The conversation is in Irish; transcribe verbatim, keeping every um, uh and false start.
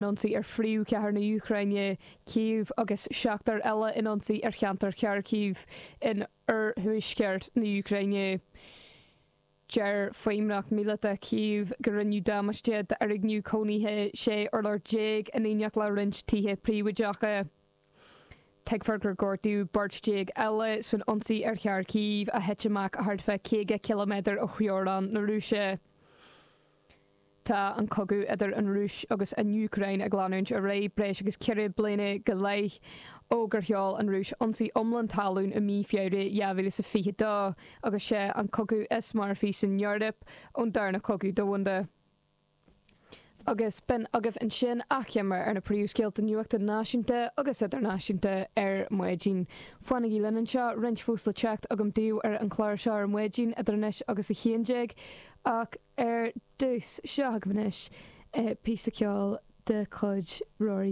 ionsaí ar phríomhchathair na hÚcráine Cív agus seachtar eile in ionsaí ar cheantar Kharkiv in oirthuaisceart na hÚcráine. Deir feidhmeannacht míleata Cív gur rinneadh damáiste d'fhoirgneamh cónaithe sé urlár déag in éineacht le roinnt tithe príobháideacha. Tuigtear gur gortaíodh beirt déag eile san ionsaí ar Kharkiv a thit amach thart fá caoga ciliméadar ó theorainn na Rúise. Tá an cogadh idir an Rúis agus an Úcráin ag leanúint ar aghaidh breis agus ceithre bliana go leith ó gur sheol an Rúis ionsaí iomlán talún i mí Feabhra dhá mhíle is a fiche dó agus sé an cogadh is marfaí san Eoraip ón darna cogadh domhanda. Agus b'in agaibh ansin achoimre ar na príomhscéalta nuachta náisiúnta agus idirnáisiúnta ar maidin. Fanaigí linn anseo roinnt fós le teacht agam daoibh ar an chlár seo ar maidin idir anois agus a haon déag ach ar dtús seo agaibh anois píosa ceoil de chuid Rory